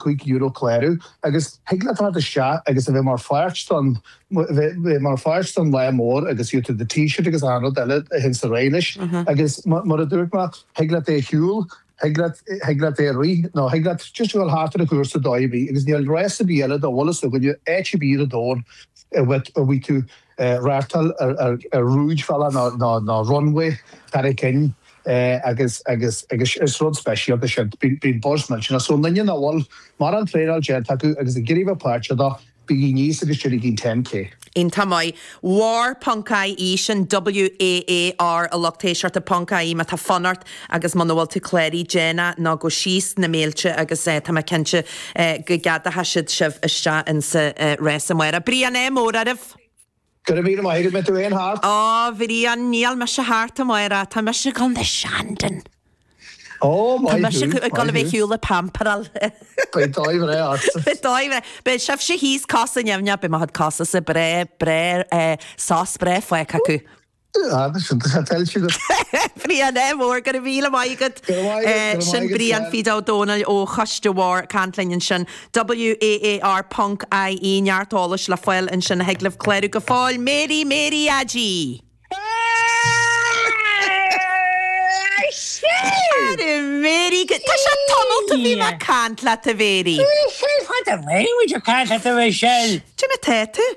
€5 clárú agus thig leat teacht isteach agus a bheith mar pháirt don bheith mar pháirt don lá mór agus gheobhaidh tú do t-shirt agus achan rud eile a théann ar aghaidh leis agus mar a dúirt mé thig leat é a shiúl, thig leat thig leat é a rith nó thig leat just a dhul thart ar an chúrsa dóigh ar bith agus níl rás ar bith eile dá bhfuil fhios againne áit ar bith ar an domhan a bhfaighidh tú reáchtáil ar ar rúidbhealach nó nó runway thar a cinn. Agus, agus, agus is rud speisialta sin. Bíonn buzz millteanach. So, aon duine nach bhfuil mórán traenáil déanta acu agus ag iarraidh bheith páirteach dó, bígí aníos agus déanaigí 10K. Iontach maith. Waar ponc IE, sin WAAR a lucht éisteachta, ponc IE má tá fonn ort agus muna bhfuil tú cláraithe, déan é nó gabh síos na mílte agus tá mé cinnte go gceadóidh siad sibh isteach insa rás amárach. Brian, ádh mór oraibh! Go raibh míle maith agat, mbeidh tú fhéin thart? Ó, Bhriain, níl mise thart amárach, tá mise ag dul na Shandon. Ó, Tá maith mise thú, ag dul a maith bheith thú. shiúl ag pamperáil. Beidh dóigh bhreá ortsa. Beidh dóigh bhreá. Beidh sibhse thíos cosa neamhneach, beidh mo chuid cosa sa breá, breá, eh, sos breá fágtha acu. Ah, tá sé tuillte agat. Brian, ádh mór, go raibh míle maith agat. Go raibh maith agat, go raibh Sin maith agat, Brian Ken. Phíde Ó Domhnaill ó Choiste WAAR ag caint linn ansin. WAAR ponc IE, neart eolais le fáil ansin a thig libh clárú go fóill. Mary, Mary Aggie! Ara Mary, go, tá sé tamall ó bhí mé ag caint leat a Mhary. Michelle, fada mé muid ag caint leat a Mhichelle. Cad é mar tá tú?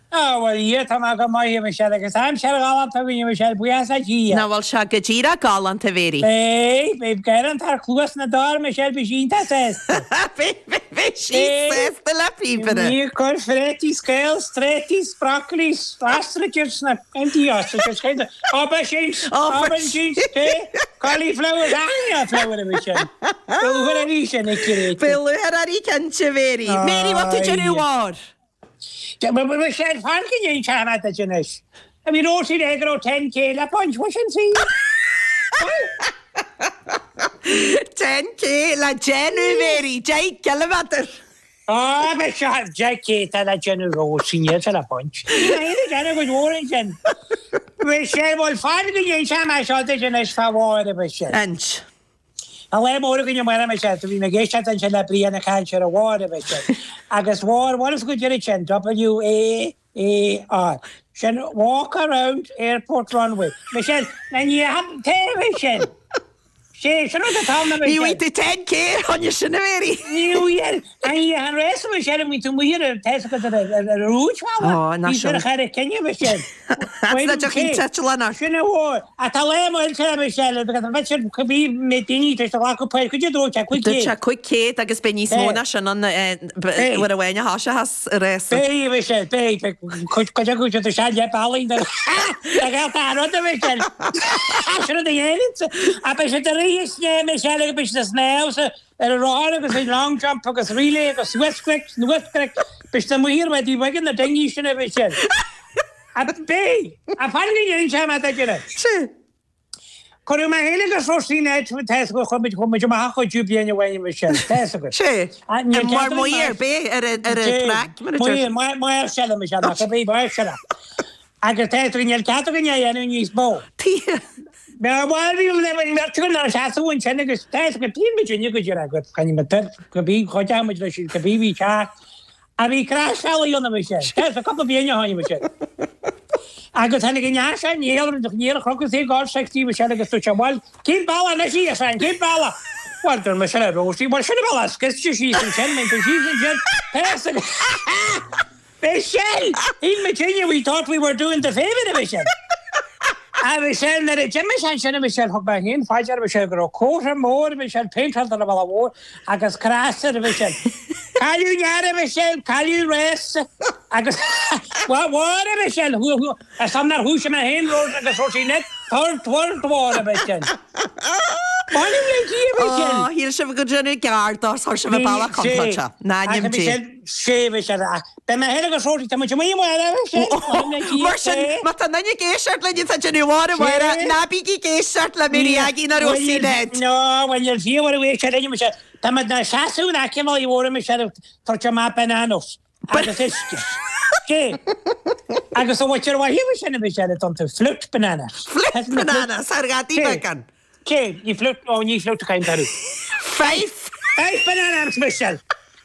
Á, bhuel, a Dhia, tá mé go maith, a Mhichelle, agus aimsir ghalánta againn, a Mhichelle, buíochas le Dia. Nach bhfuil sé go díreach galánta, a Mhary? Beidh, beidh gearán thar chluas na dtor, a Mhichelle, beidh sí iontach sásta. Beidh, beidh sí sásta le píobaire. Ní ag cur fréataí, scales, tréataí, broccoli, ostriches, na, empty ostriches, kind of, aubergines, aubergines, pé, cauliflowers, achan flower, a Mhichelle. Beidh lúcháir uirthi sin, ag Beidh lúcháir uirthi cinnte, a Mhary. Mary, bhfuil tú ag déanamh WAAR? Michelle, fan go n-inseoidh mé duit anois. Bhí Róisín ag go raibh 10K le baint, bhfuil sin saor? 10K le déanamh, Mary, 10 gciliméadar. Á, beidh seo 10K tá le déanamh Róisín, níl sé le baint. Ní raibh aon déanamh go leor ansin. Michelle, bhuel, fan go n-inseoidh mé seo duit anois fá WAAR, a Mhichelle. Ins. Tá lá mór againn amárach, a Mhichelle, do bhí mé ag éisteacht ansin le Brian ag caint ar an WAAR, a Mhichelle. Agus WAAR, bhfuil fhios agat goidé sin, W-A-A-R. Sin Walk Around Airport Runway. Michelle, na ní té a Mhichelle. Sé, sin rud atá ann, a Ní Mhichelle. bhfaighidh tú 10K ar choinne sin, a Mhary. Ní bhfuil. An rás, a Mhichelle, an mbíonn tú amuigh ar an, tá fhios agat, ar an rúidbhealach. Ó, ná Bhí sin. ar a chinneadh, a Mhichelle. Sin a mhór. Ach tá lá millteach, a Mhichelle, agus an bheith sin cibé méid daoine tar éis a ghlacadh páirt, goidé dúirt sé, 500. Dúirt sé 500 agus beidh níos mó ná sin ann uair amháin a thoiseochas an rás. Beidh, a Mhichelle, beidh. Beidh cuid acu siad isteach le bealaí do ghaolta an rud, a Mhichelle. Sin rud a dhéanann. Ach beidh siad ag rith is a Mhichelle agus beidh siad ag snámh sa ar an rothar agus an long jump agus relay agus suas cnoic, anuas cnoic, beidh siad amuigh ar mhaidí bheag na dingí sin a Mhichelle. A beidh! A fan go ndéanfaidh mé duit anois. Sea. Cuireadh mé féin agus Róisín Ned tá fhios agat chuaigh muid chuaigh muid amach a chuidiú bliain amháin a Mhichelle, tá fhios agat. Sea. Mar maor b'é ar an traic mar a deir. Maor, maor seile a Mhichelle, ach a bhí maor seile. Agus tá fhios agat níl cead againn é a dhéanamh níos mó. Tuige? Bhuel, bhí an bheirt againn inár seasamh ansin agus tá fhios agat, bíonn muid inne go dtí agat, caithfidh muid toir, go bí, chuideodh muid leis go bí bhí teacht. A bhí craiseálaí ann a Mhichelle. Tá fhios agat, cúpla bliain ó shin a Mhichelle. Agus tháinig an fhear seo Niall, Niall a chrochadh saor gáir sexy a Mhichelle agus dúirt sé, bhuel, cén bealach anois í, a Sheáin, cén bealach? Bhuel, dúirt mise le Róisín, bhuel, sin an bealach, scriosta síos ansin, mbeidh tú síos ansin, tá fhios agat. Michelle! Shíl muid féin we thought we were doing the favour a Mhichelle. A Mhichelle, nuair a d'imigh sé ansin a Mhichelle, thug mé féin fá dear a Mhichelle go raibh cófra mór a Mhichelle péinteáilte ar an bhalla mhór agus crois air a Mhichelle. Cailleadh near a Mhichelle, cailleadh rás agus WAAR a Mhichelle, ar son nár dhúisigh mé féin Rose agus Róisín Ned, third world war a Mhichelle. M'anam le Dia a Mhichelle! Ó, shíl sibh go dtéanadh gearr dó, chuir sibh an bealach contráilte. Ná nim Dé. Sé Mhichelle, ach beidh mé féin agus Róisín, tá muid amuigh amárach a Mhichelle, m'anam le Dia, Mar sin, má tá duine ag éisteacht linn atá ag déanamh WAAR amárach, ná bígí ag éisteacht le Mary Aggie ná Róisín Ned. No, bhuel níl fiú ar éisteacht linn, Michelle. Tá muid inár seasamh in aice an bhealaigh mhóir, Michelle, ag tabhairt amach bananas agus uisce. Sé. Agus a mhuintir mhaith, Michelle, Michelle, a dtugtar flute bananas. Flute bananas, ar ghadaí beagán. Sé, ní flute, ó ní flute a chaint orthu. Fife. Fife bananas, Michelle.